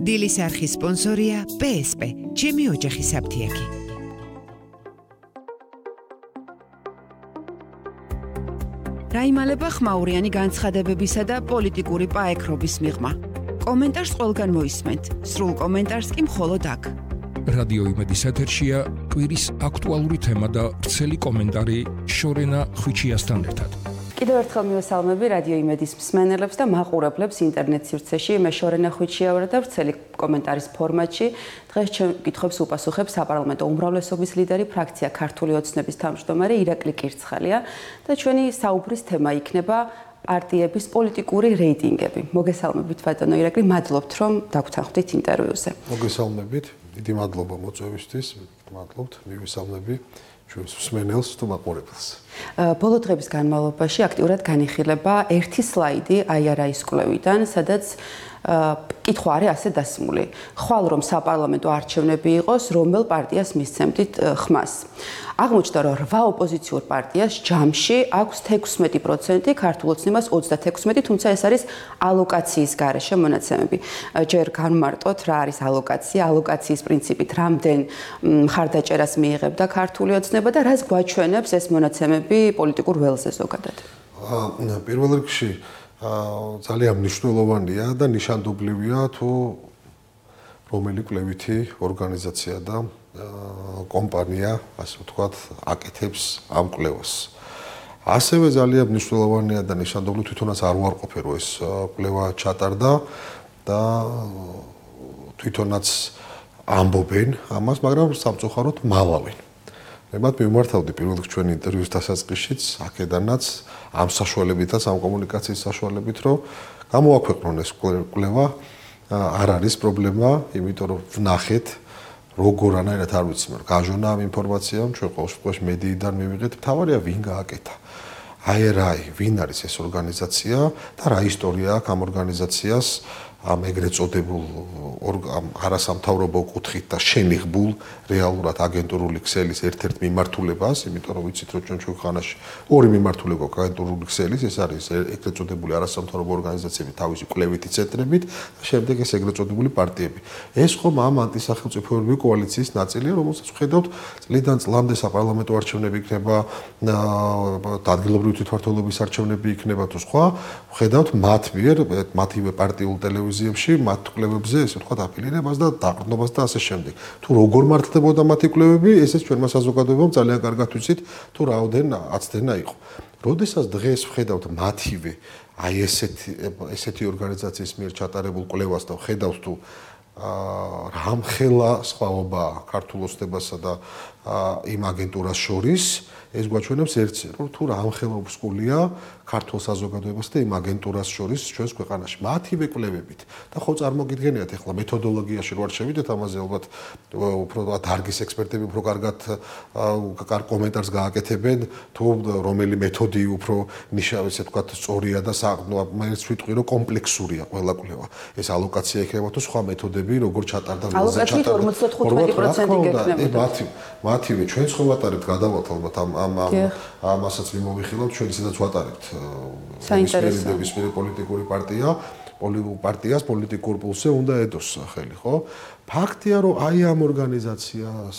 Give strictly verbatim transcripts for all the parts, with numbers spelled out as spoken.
დილის არხის სპონსორია პე ეს პე, ჩემი ოჯახის აფთიაქი. რაიმალება ხმაურიანი განცხადებებისა და პოლიტიკური პაექრობის მიღმა. კომენტარს ყველგან მოისმენთ, სრულ კომენტარს კი მხოლოდ აქ. რადიო იმედის ეთერშია კვირის აქტუალური თემა და ვრცელი კომენტარი შორენა ხვიჩიასთან ერთად. კიდევ ერთხელ მივესალმები რადიო იმედის მსმენელებს და მაყურებლებს ინტერნეტ სივრცეში. მე შორენა ხვიჩია ვარ და ვრცელი კომენტარის ფორმატში. დღეს ჩემ კითხვებს უპასუხებს საპარლამენტო უმრავლესობის ლიდერი, ფრაქცია ქართული ოცნების თავმჯდომარე ირაკლი კირცხალია და ჩვენი საუბრის თემა იქნება პარტიების პოლიტიკური რეიტინგები. მოგესალმებით ბატონო ირაკლი, მადლობთ რომ დაგვთანხმდით ინტერვიუზე. მოგესალმებით, დიდი მადლობა მოწვევისთვის, მადლობთ, მივესალმები ჩვენს მსმენელს თუ მაყურებელს. ბოლო დღების განმავლობაში აქტიურად განიხილება ერთი სლაიდი აი არა ის კვლევიდან, სადაც კითხვა არის ასე დასმული. ხვალ რომ საპარლამენტო არჩევნები იყოს, რომელ პარტიას მისცემდით ხმას. აღმოჩნდა, რომ რვა ოპოზიციურ პარტიას ჯამში აქვს თექვსმეტი პროცენტი, ქართულ ოცნებას ოცდათექვსმეტი, თუმცა ეს არის ალოკაციის გარეშე მონაცემები. ჯერ განმარტოთ რა არის ალოკაცია, ალოკაციის პრინციპით რამდენ მხარდაჭერას მიიღებდა ქართული ოცნება და რას გვაჩვენებს ეს მონაცემები პოლიტიკურ ველზე ზოგადად. პირველ რიგში ძალიან მნიშვნელოვანია და ნიშანდობლივია თუ რომელი კვლევითი ორგანიზაცია და კომპანია, ასე ვთქვათ, აკეთებს ამ კვლევას. ასევე ძალიან მნიშვნელოვანია და ნიშანდობლივ თვითონაც არ უარყოფე რომ ეს კვლევა ჩატარდა და თვითონაც ამბობენ ამას, მაგრამ სამწუხაროდ მალავენ. მებად მიმართავდი პირველ რიგში ჩვენი ინტერვიუს დასაწყისშიც, აქედანაც ამ საშუალებითაც, ამ კომუნიკაციის საშუალებით, რომ გამოაქვეყნონ ეს კვლევა არ არის პრობლემა, იმიტომ რომ ვნახეთ როგორ ანაირად არ ვიცი, მაგრამ გაჟონა ამ ინფორმაციამ, ჩვენ ყოველ შემთხვევაში მედიიდან მივიღეთ, თავარია ვინ გააკეთა. აი რა, ვინ არის ეს ორგანიზაცია და რა ისტორია აქვს ამ ორგანიზაციას, ამ ეგრეთ წოდებულ არასამთავრობო კუთხით და შენიღბულ რეალურად აგენტურული ქსელის ერთ-ერთ მიმართულებას, იმიტომ რომ ვიცით რომ ჩვენ ქვეყანაში ორი მიმართულება გვაქვს აგენტურული ქსელის, ეს არის ეგრეთ წოდებული არასამთავრობო ორგანიზაციები თავისი კვლევითი ცენტრებით და შემდეგ ეს ეგრეთ წოდებული პარტიები. ეს ხომ ამ ანტისახელმწიფოებრივი კოალიციის ნაწილია, რომელსაც ვხედავთ წლიდან წლამდე საპარლამენტო არჩევნები იქნება, ადგილობრივი თვითმმართველობის არჩევნები იქნება თუ სხვა, ვხედავთ მათ მიერ, მათივე პარტიულ ტელევიზიებში, მათ კვლევებზე, ესე ვთქვათ, აფილირებას და დაყრდნობას და ასე შემდეგ. თუ როგორ მართლდებოდა მათი კვლევები, ესეც ჩვენმა საზოგადოებამ ძალიან კარგად ვიცით, თუ რაოდენ აცდენა იყო. როდესაც დღეს ვხედავთ მათივე აი ესეთი ესეთი ორგანიზაციის მიერ ჩატარებულ კვლევას და ვხედავთ თუ რამხელა სხვაობაა ქართულ ოცნებასა და იმ აგენტურას შორის, ეს გვაჩვენებს ერთს, რომ თუ რამხელა უსკულია ქართულ საზოგადოებას და იმ აგენტურას შორის ჩვენს ქვეყანაში. მათივე კვლევებით და ხო წარმოგიდგენიათ ახლა მეთოდოლოგიაში რო არ შევიდეთ ამაზე ალბათ უფრო დარგის ექსპერტები უფრო კარგად კარგ კომენტარს გააკეთებენ თუ რომელი მეთოდი უფრო ნიშნავს ესე ვთქვათ სწორია და მეც ვიტყვი რომ კომპლექსურია ყველა კვლევა. ეს ალოკაცია იქნება თუ სხვა მეთოდები როგორ ჩატარდა ველზე ჩატარდა. ორმოცდათხუთმეტი პროცენტი გექნებოდა. მათივე ჩვენც ხო ვატარებთ გადავალთ ალბათ ამ ამ ამასაც მიმოვიხილავთ ჩვენ ისედაც ვატარებთ საინტერესო ნებისმიერი პოლიტიკური პარტია პოლიტიკურ პარტიას პოლიტიკურ პულსზე უნდა ედოს ხელი, ხო? ფაქტია, რომ აი ამ ორგანიზაციას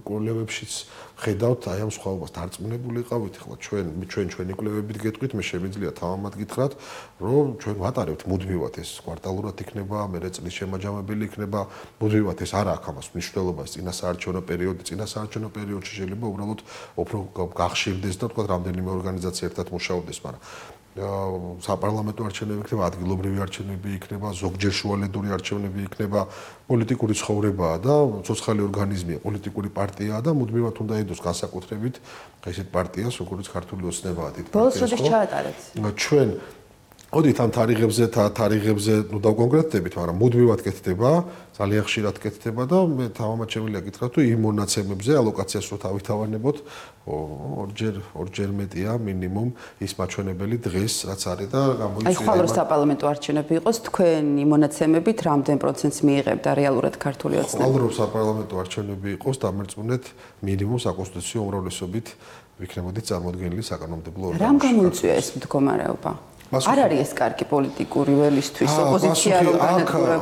კვლევებშიც ხედავთ აი ამ სხვაობას დარწმუნებული იყავით, ახლა ჩვენ ჩვენ ჩვენი კვლევებით გეტყვით, მე შემიძლია თავამად გითხრათ, რომ ჩვენ ვატარებთ მუდმივად ეს კვარტალურად იქნება, მერე წლის შემაჯამებელი იქნება, მუდმივად ეს არ აქვს ამას მნიშვნელობა, ეს წინასაარჩევნო პერიოდი, წინასაარჩევნო პერიოდში შეიძლება უბრალოდ უფრო გახშირდეს და თქვა რამდენიმე ორგანიზაცია ერთად მუშაობდეს, მაგრამ საპარლამენტო არჩევნები იქნება, ადგილობრივი არჩევნები იქნება, ზოგჯერ შუალედური არჩევნები იქნება, პოლიტიკური ცხოვრებაა და ცოცხალი ორგანიზმია, პოლიტიკური პარტიაა და მუდმივად უნდა ედოს განსაკუთრებით ესეთ პარტიას, როგორც ქართული ოცნებაა დიდ პარტიას. ბოლოს როდის ჩაატარეთ? ჩვენ ოდით ამ თარიღებზე თარიღებზე ნუ დავკონკრეტდებით, მაგრამ მუდმივად კეთდება, ძალიან ხშირად კეთდება და მე თავამად შემიძლია გითხრათ, თუ იმ მონაცემებზე ალოკაციას რო თავითავანებოთ, ორჯერ ორჯერ მეტია მინიმუმ ის მაჩვენებელი დღეს რაც არის და გამოიწვია. აი ხვალ რო საპარლამენტო არჩევნები იყოს, თქვენი მონაცემებით რამდენ პროცენტს მიიღებდა რეალურად ქართული ოცნება? ხვალ რო საპარლამენტო არჩევნები იყოს, დამერწმუნეთ მინიმუმ საკონსტიტუციო უმრავლესობით ვიქნებოდით წარმოდგენილი საკანონმდებლო ორგანო. რამ გამოიწვია ეს მდგომარეობა? არ არის ეს კარგი პოლიტიკური ველისთვის ოპოზიცია რომ განადგურებოდა.